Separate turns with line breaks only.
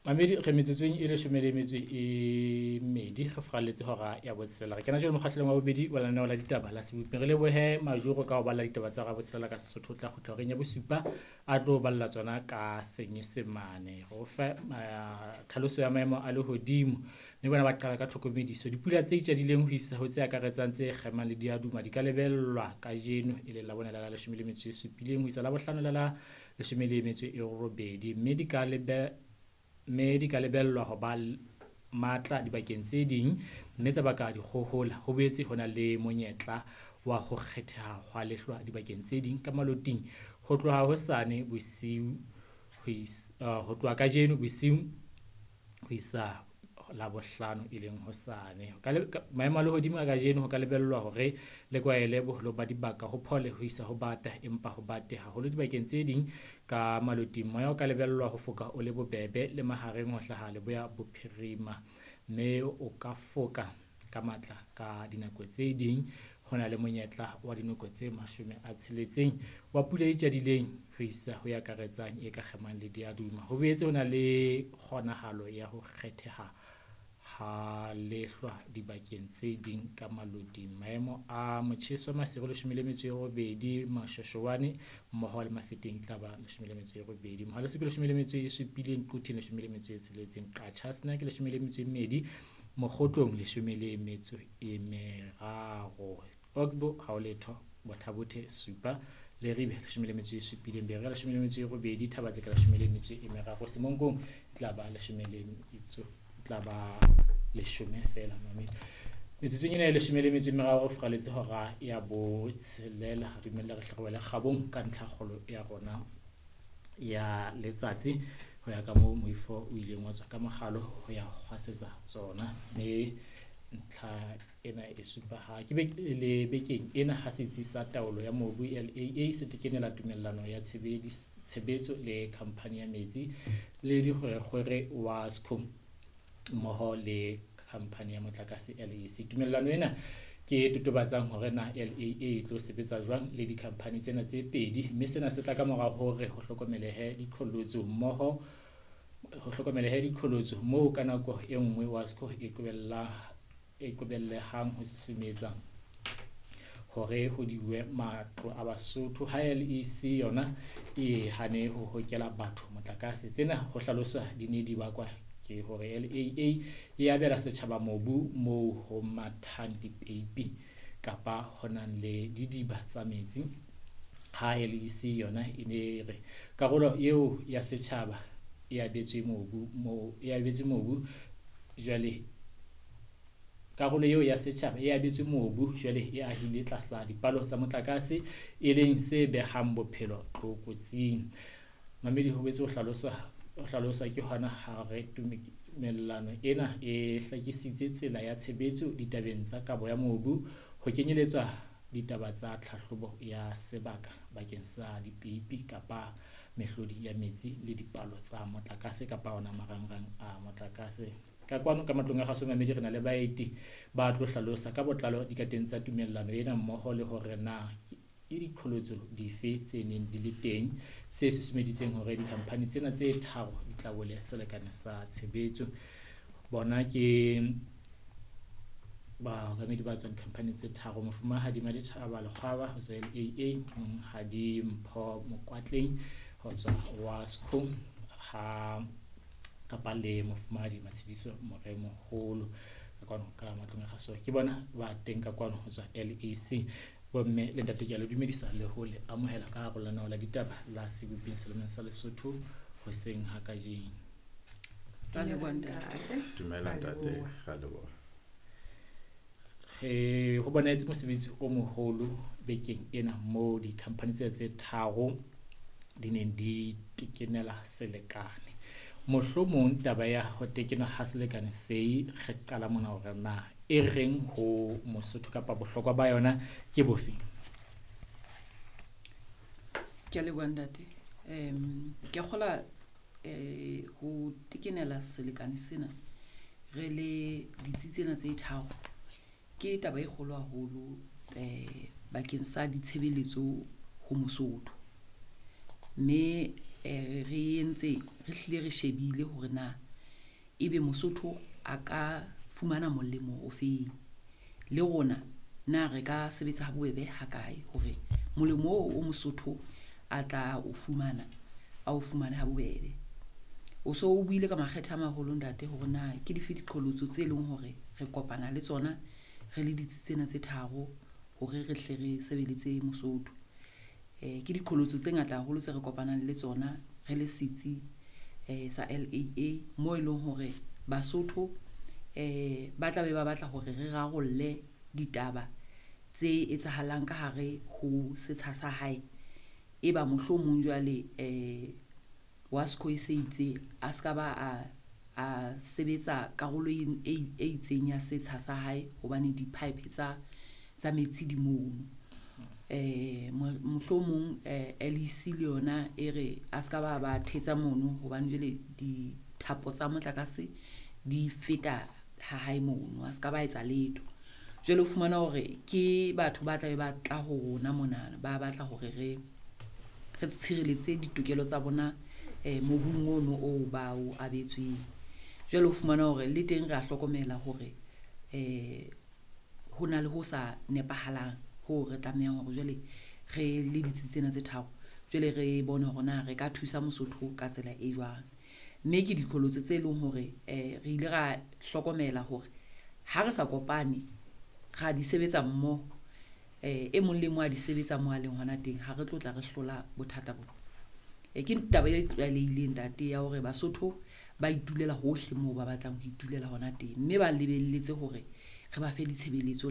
Mamedi re metsotsong e 12 re furaletse hora ya botshelela. Re kena jwale mokgahlelong wa bobedi wa lenaneo la ditaba la Seboping. Re lebohe Majoro ka ho balla ditaba tsa hora ya botshelela ka Sesotho. O tla kgutla horeng ya bosupa a tlo balla tsona ka Senyesemane. Re o fe tlhaloso ya maemo a lehodimo mme bona ba qala ka tlhokomediso. Dipula tse itjadileng ho isa ho tse akaretsang tse kgemang le diaduma di ka lebellwa kajeno e leng Labone la la 17 ho isa Labohlano la la 18 mme di ka lebe mme di ka lebellwa ho ba matla dibakeng tse ding mme tsa baka dikgohola. Ho boetse ho na le monyetla wa ho kgetheha hwa lehlwa dibakeng tse ding ka maloting ho tloha hosane bosiu ho tloha kajeno bosiu ho isa Labohlano e leng hosane. Maemo a lehodimo a kajeno ho ka lebellwa hore le kwaele boholo ba dibaka ho phole ho isa ho bata empa ho bate haholo dibakeng tse ding ka maloting. Moya o ka lebellwa ho foka o le bobebe le mahareng ho hlaha leboya bophirima mme o ka foka ka matla ka dinako tse ding. Ho na le monyetla wa dinoko tse 60 wa pula e tjadileng ho isa ho e akaretsang e ka kgemang le diaduma. Ho boetse ho na le kgonahalo ya ho kgetheha ha lehlwa dibakeng tse ding ka maloting. Maemo a motjheso Maseru 18, Moshweshwane mmoho le Mafeteng e tla ba 18. Mohaleso ke 17, Quthing 16, Qacha's ke 12, Mokgotlong 13. Oxbow ha ho letho, Botha Bothe 7, Leribe 17, Berea 18, Thaba-Tseka 13, Semonkong e tla ba 10 feela mamedi. Metsotsong ena e 13 re furaletse hora ya botshelela. Re dumelle re hle re wele kgabong ka ntlhakgolo ya rona ya letsatsi ho ya ka moo moifo o ileng wa tswa ka mokgalo ho ya kgwasetsa tsona. Mme ntlha ena e supa ha ke le bekeng ena ha setsi sa taolo ya mobu LAA se tekenela tumellano ya tshebetso le khampani ya metsi le dikgwerekgwere Wasco mmoho le khampani ya motlakase LEC. Tumellano ena ke e totobatsang hore na LAA e tlo sebetsa jwang le dikhampani tsena tse pedi, mme sena se tla ka mora hore ho hlokomelehe diqholotso mmoho ho hlokomelehe diqholotso moo ka nako e nngwe Wasco e qobellehang ho susumetsa hore ho diwe matlo a Basotho ha LEC yona e hane ho hokela batho motlakase. Tsena ho hlaloswa di ne di bakwa ke hore LAA e abela setjhaba mobu moo ho mathang dipeipi kapa ho nang le didiba tsa metsi, ha LEC yona e ne re karolo eo ya setjhaba e abetswe mobu moo e abetswe mobu jwale karolo eo ya setjhaba e abetswe mobu jwale e ahile tlasa dipalo tsa motlakase e leng se behang bophelo tlokotsing. Mamedi ho boetse ho hlaloswa ke hona ha re tumellano ena e hlakisitse tsela ya tshebetso ditabeng tsa kabo ya mobu ho kenyeletswa ditaba tsa tlhahlobo ya sebaka bakeng sa dipeipi kapa mehlodi ya metsi le dipalo tsa motlakase kapa ona marangrang a motlakase. Ka kwano ka matlong a kgaso mamedi re na le baeti ba tlo hlalosa ka botlalo dikateng tsa tumellano ena mmoho le hore na ke diqholotso dife tse neng di le teng tse susumeditseng hore dikhampani tsena tse tharo di tlabole selekane sa tshebetso. Bona ke baokamedi ba tswang dikhampani tse tharo, Mofumahadi Maditjhaba Lekgwaba ho tswa LAA, Monghadi Mpho Mokwatleng ho tswa Wasco ha kapa le Mofumahadi Matshediso Moremoholo ka kwano ka matlong a kgaso. Ke bona ba teng ka kwano ho tswa LEC. Bomme le ntate ke a le dumedisa le ho le amohela ka hare lenaneo la ditaba la Seboping selemeng sa Lesotho hoseng ha kajeno.
Dumela ntate, ra leboha.
Re ho bonahetse mosebetsi o moholo bekeng ena moo dikhampani tsena tse tharo di neng di tekenela selekane. Mohlomong taba ya ho tekenwa ha selekane se re qala mona hore na e reng ho Mosotho kapa bohlokwa ba yona ke bofe?
Ke a leboha ntate. Ke a kgola ho tekenela selekane sena re le ditsi tsena tse tharo ke taba e kgolo haholo bakeng sa ditshebeletso ho Mosotho. Mme re entse re hlile re shebile hore na Ebe Mosotho a ka fumana molemo o feng? Le rona na re ka sebetsa ha bobebe ha kae hore molemo oo o Mosotho a tla o fumana, a o fumane ha bobebe. O so o buile ka makgethe a maholo ntate hore na ke dife diqholotso tse leng hore re kopana le tsona re le ditsi tsena tse tharo hore re hle re sebeletse Mosotho. Ke diqholotso tse ngata haholo tse re kopanang le tsona re le setsi sa LAA mo e leng hore Basotho ba tla be ba batla hore re rarolle ditaba tse etsahalang ka hare ho setsha sa hae. E ba mohlomong jwale WASCO e se itse a ska ba a sebetsa karolo e itseng ya setsha sa hae hobane di-pipe tsa metsi di mono. Mohlomong LEC le yona e re a ska ba thetsa mono hobane jwale dithapo tsa motlakase di feta ha hae mono, a ska ba etsa letho. Jwale o fumana hore ke batho ba tla be ba tla ho rona monana, ba batla hore re tshireletse ditokelo tsa bona mobung ono oo ba o abetsweng. Jwale o fumana hore le teng re a hlokomela hore ho na le ho sa nepahalang ho re tlamehang hore jwale re le ditsi tsena tse tharo, jwale re bone hore na re ka thusa Mosotho ka tsela e jwang. Mme ke diqholotso tse leng hore re ile ra hlokomela hore ha re sa kopane ra di sebetsa mmoho, e mong le mong a di sebetsa mo a leng hona teng, ha re tlo tla re hlola bothata bona. Ke taba e tlwaelehileng ntate ya hore Basotho ba itulela hohle moo ba batlang ho itulela hona teng, mme ba lebelletse hore re ba fe ditshebeletso.